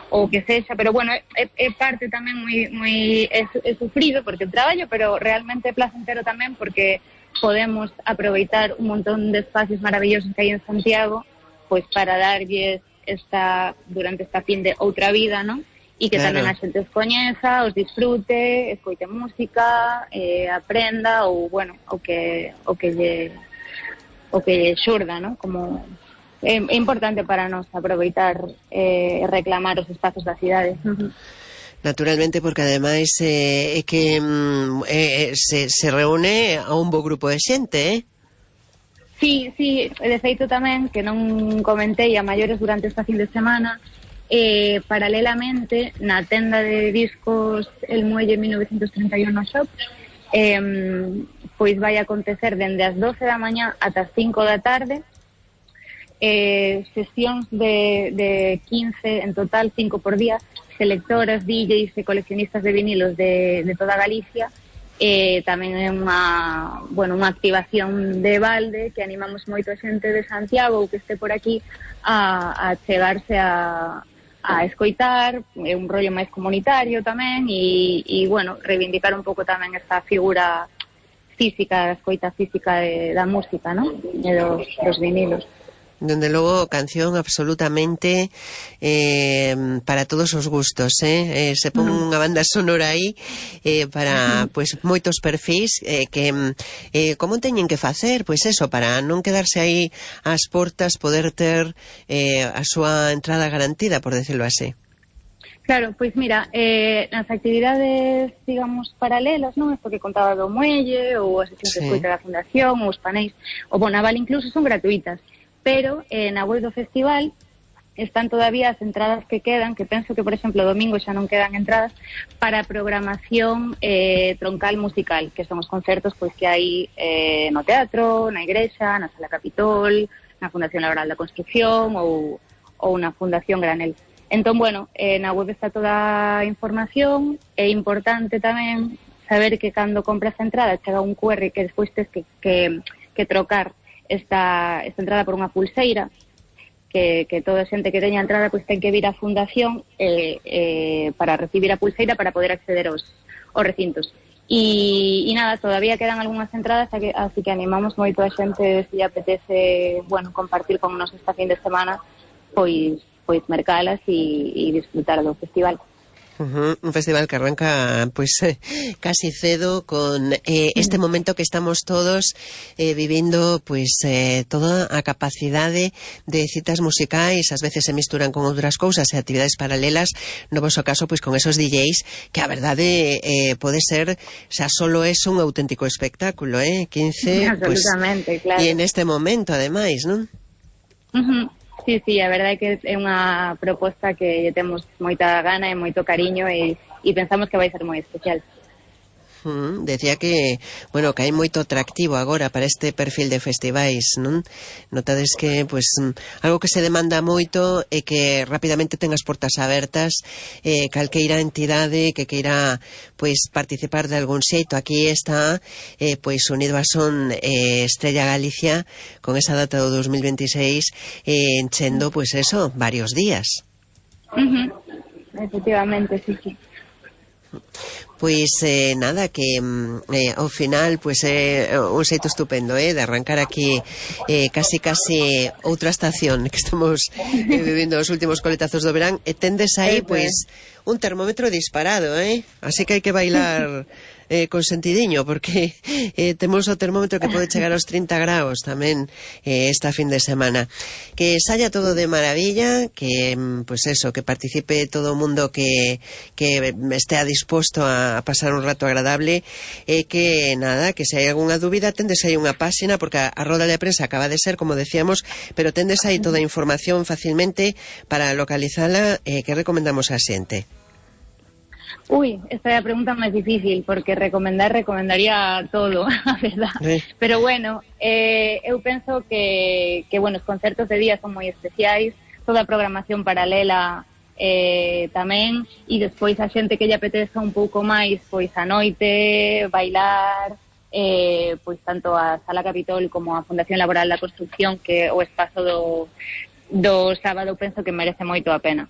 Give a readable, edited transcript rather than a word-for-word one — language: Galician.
ou que sexa, pero bueno, é parte tamén moi é sufrido porque o traballo, pero realmente é placentero tamén porque podemos aproveitar un montón de espacios maravillosos que hai en Santiago, pois para darlles durante esta fin de outra vida, non? E que claro. tamén a xente os coñeza, os disfrute, escoite música, aprenda ou, bueno, o que lle xurda, non? Como é importante para nós aproveitar e reclamar os espazos da cidade. Naturalmente, porque ademais é que se reúne a un bo grupo de xente, Sí, de feito tamén, que non comentei a maiores durante esta fin de semana, paralelamente na tenda de discos El Muelle 1931 Shop, pois vai acontecer dende as 12 da mañá ata as 5 da tarde, sesións de 15 en total, 5 por día, selectoras, DJs e coleccionistas de vinilos de toda Galicia. Tamén é unha activación de balde que animamos moito a xente de Santiago ou que este por aquí a chegarse a escoitar, é un rollo máis comunitario tamén e bueno, reivindicar un pouco tamén esta figura física, a escoita física da música, non? E dos vinilos. Dende logo, canción absolutamente para todos os gustos, se pon unha banda sonora aí para pois moitos perfis que como teñen que facer, pois eso, para non quedarse aí ás portas, poder ter a súa entrada garantida, por decirlo así. Claro, pois mira, nas actividades, digamos, paralelas, non? Isto que contaba do muelle, ou as sesións de escoita da Fundación, ou os paneis, o Bonaval incluso son gratuitas, pero na web do festival están todavía as entradas que quedan, que penso que, por exemplo, domingo xa non quedan entradas, para programación troncal musical, que son os concertos pois que hai no teatro, na igrexa, na Sala Capitol, na Fundación Laboral da Construcción ou na Fundación Granel. Entón, bueno, na web está toda a información. É importante tamén saber que cando compras a entrada chega un QR que despois tes que trocar esta entrada por unha pulseira, que toda a xente que teña entrada pois ten que vir á fundación para recibir a pulseira para poder acceder aos recintos. E nada, todavía quedan algunhas entradas, así que animamos moito a xente, se lle apetece, bueno, compartir con nos esta fin de semana, pois mercalas e disfrutar do festival. Un festival que arranca pois casi cedo con este momento que estamos todos vivindo, pois toda a capacidade de citas musicais, ás veces se misturan con outras cousas e actividades paralelas, no voso caso pois con esos DJs que a verdade pode ser, xa solo é un auténtico espectáculo, 15 pois, claro. E en este momento ademais, non? Sí, a verdade é que é unha proposta que lle temos moita gana e moito cariño e pensamos que vai ser moi especial. Decía que, bueno, que hai moito atractivo agora para este perfil de festivais, non? Notades que, pois, algo que se demanda moito é que rapidamente ten as portas abertas, calqueira entidade que queira, pois, participar de algún xeito. Aquí está, pois, unido a Son Estrella Galicia, con esa data do 2026, enchendo, pois, eso, varios días. Efectivamente, sí. Pois nada, que ao final pois é un xeito estupendo de arrancar aquí casi outra estación que estamos vivindo os últimos coletazos do verán, e tendes aí pois un termómetro disparado, así que hai que bailar con sentidiño, porque temos o termómetro que pode chegar aos 30 graus tamén esta fin de semana. Que saia todo de maravilla, que pois eso, que participe todo o mundo que estea disposto a pasar un rato agradable, e que nada, que se hai algunha dúbida tendes aí unha páxina, porque a roda de prensa acaba de ser, como decíamos, pero tendes aí toda a información facilmente para localizala. Que recomendamos a xente? Esta é a pregunta máis difícil, porque recomendaría todo, a verdade. Pero bueno, eu penso que bueno, os concertos de día son moi especiais, toda a programación paralela tamén, e despois a xente que lle apeteza un pouco máis, pois a noite, bailar, pois tanto a Sala Capitol como a Fundación Laboral da Construcción, que o espazo do sábado penso que merece moito a pena.